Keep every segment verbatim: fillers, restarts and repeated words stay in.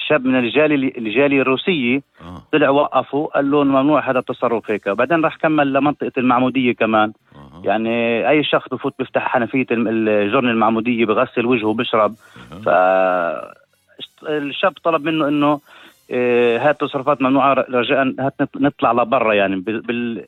شاب من الجالية الجالية الروسية آه. طلع وقفوا قال له ممنوع هذا التصرف هيك. بعدين راح كمل لمنطقة المعمودية كمان. آه. يعني أي شخص بفوت بيفتح حنفية الجرن المعمودية بغسل وجهه وبشرب. آه. فالشاب طلب منه إنه إيه هاي التصرفات ممنوعة، رجاء هات نطلع لبرا يعني بال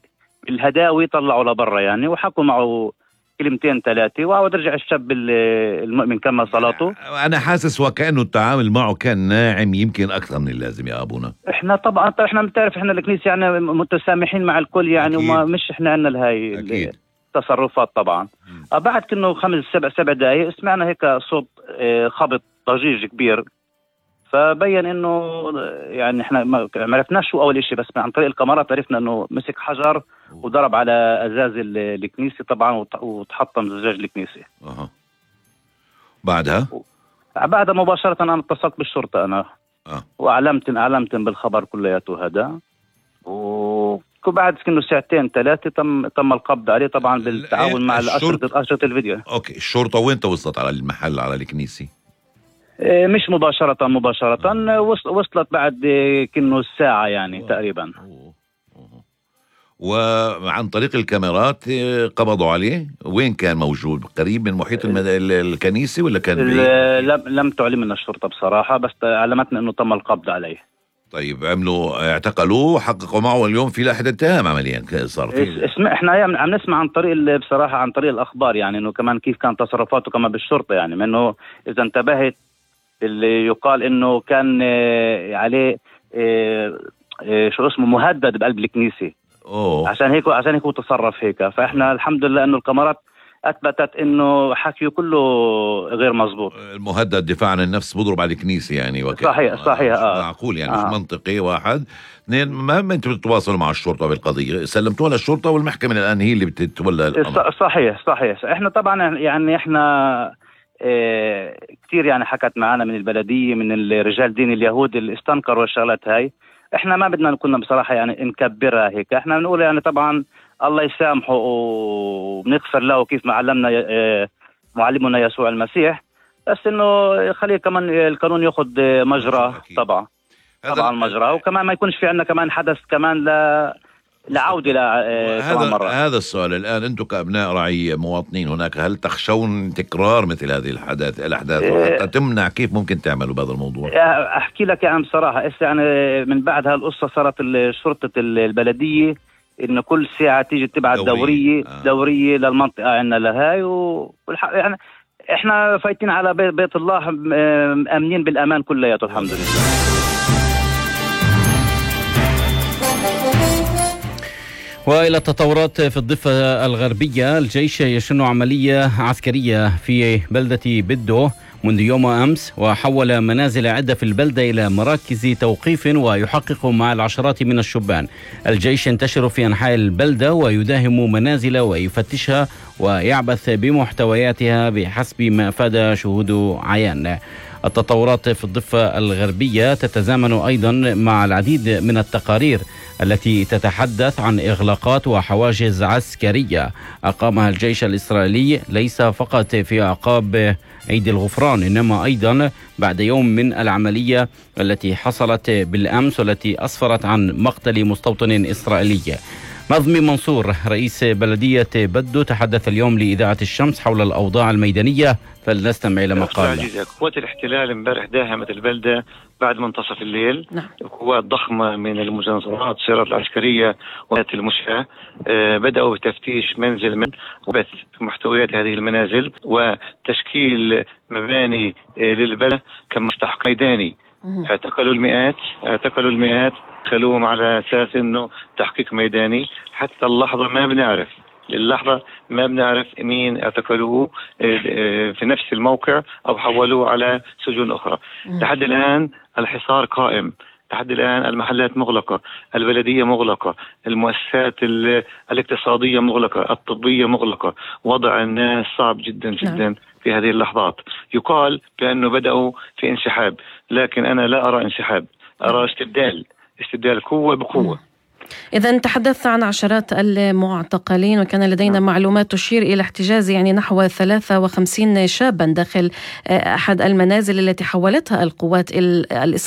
بالهداوي طلعوا لبرا يعني، وحكوا معه كلمتين ثلاثة وعود رجع الشاب المؤمن كمل صلاته. أنا حاسس وكأنه التعامل معه كان ناعم يمكن أكثر من اللازم يا أبونا. إحنا طبعا إحنا بتعرف إحنا الكنيسة يعني متسامحين مع الكل يعني، أكيد. وما مش إحنا عنا لهاي التصرفات طبعا. بعد كأنه خمس سبع سبع دقايق سمعنا هيك صوت خبط ضجيج كبير، فبين إنه يعني إحنا ما عرفناش شو أول إشي، بس عن طريق الكاميرات عرفنا إنه مسك حجر وضرب على أزاز الكنيسة طبعا وتحطم زجاج الكنيسة. أها. بعدها؟ بعدها مباشرة أنا اتصلت بالشرطة أنا. أه. وأعلمت أعلمت بالخبر كلياته هذا، وبعد كأنه ساعتين ثلاثة تم تم القبض عليه طبعا بالتعاون مع الأشرطة أشرطة الفيديو. أوكي، الشرطة وين توصلت على المحل على الكنيسة؟ مش مباشرة مباشرة وصلت بعد كأنه الساعة يعني. أوه. تقريبا. أوه. أوه. وعن طريق الكاميرات قبضوا عليه. وين كان موجود؟ قريب من محيط المد... الكنيسة ولا كان لم لم تعلم من الشرطة بصراحة، بس علمتنا انه تم القبض عليه. طيب عملوا اعتقلوه، حققوا معه اليوم في لائحة اتهام عمليا صار في. اسمع احنا عم نسمع عن طريق بصراحة عن طريق الاخبار يعني انه كمان كيف كان تصرفاته كمان بالشرطة يعني، منه اذا انتبهت اللي يقال انه كان عليه شو اسمه مهدد بقلب الكنيسة. أوه. عشان هيك عشان هيك هو تصرف هيك. فاحنا الحمد لله انه الكاميرات اثبتت انه حكيه كله غير مزبوط. المهدد دفاع عن النفس بضرب على الكنيسة يعني. وكي. صحيح صحيح. آه. معقول يعني. آه. مش منطقي. واحد اثنين، ما انتوا بتتواصلوا مع الشرطة بالقضية؟ سلمتوها للشرطة والمحكمة الان هي اللي بتتولى الامر. صحيح صحيح. احنا طبعا يعني احنا اه كثير يعني حكت معنا من البلدية من الرجال دين اليهود اللي استنكروا الشغلات هاي. احنا ما بدنا كنا بصراحة يعني نكبرها هيك. احنا بنقول يعني طبعا الله يسامحه وبنغفر له كيف ما علمنا معلمنا يسوع المسيح، بس انه خليه كمان القانون ياخذ مجرى. طبعا طبعا مجرى، وكمان ما يكونش في عندنا كمان حدث كمان لا لعودة هذا مرة. هذا السؤال الآن، أنتم كأبناء رعية مواطنين هناك، هل تخشون تكرار مثل هذه الحدث الأحداث وحتى تمنع؟ كيف ممكن تعملوا بهذا الموضوع؟ أحكي لك يعني بصراحة يعني من بعد هالقصة صارت شرطة البلدية إنه كل ساعة تيجي تبعت دورية دورية, آه. دورية للمنطقة عندنا لهاي، والح... يعني إحنا فايتين على بيت, بيت الله أمنين بالأمان كلياته الحمد لله. وإلى التطورات في الضفة الغربية، الجيش يشن عملية عسكرية في بلدة بدو منذ يوم أمس، وحول منازل عدة في البلدة إلى مراكز توقيف ويحقق مع العشرات من الشبان. الجيش ينتشر في أنحاء البلدة ويداهم منازل ويفتشها ويعبث بمحتوياتها بحسب ما أفاد شهود عيان. التطورات في الضفة الغربية تتزامن أيضا مع العديد من التقارير التي تتحدث عن إغلاقات وحواجز عسكرية أقامها الجيش الإسرائيلي ليس فقط في أعقاب عيد الغفران، إنما أيضا بعد يوم من العملية التي حصلت بالأمس والتي أسفرت عن مقتل مستوطن إسرائيلي. نظمي منصور رئيس بلدية بدو تحدث اليوم لإذاعة الشمس حول الأوضاع الميدانية، فلنستمع إلى ما قال. قوات الاحتلال امبارح داهمت البلدة بعد منتصف الليل. نعم. قوات ضخمة من المجنزرات السيارات العسكرية وقوات المشاة آه بدأوا بتفتيش منزل من وبث محتويات هذه المنازل وتشكيل مباني آه للبلد كمستحق ميداني. اعتقلوا المئات اعتقلوا المئات خلوهم على أساس أنه تحقيق ميداني. حتى اللحظة ما بنعرف للحظة ما بنعرف مين اعتقلوه في نفس الموقع أو حولوه على سجون أخرى. لحد الآن الحصار قائم، لحد الآن المحلات مغلقة، البلدية مغلقة، المؤسسات الاقتصادية مغلقة، الطبية مغلقة. وضع الناس صعب جدا جدا في هذه اللحظات. يقال بأنه بدأوا في انسحاب، لكن أنا لا أرى انسحاب، أرى استبدال استبدال قوة بقوة. إذا تحدثت عن عشرات المعتقلين، وكان لدينا معلومات تشير إلى احتجاز يعني نحو ثلاثة وخمسين شابا داخل أحد المنازل التي حولتها القوات الإسرائيلية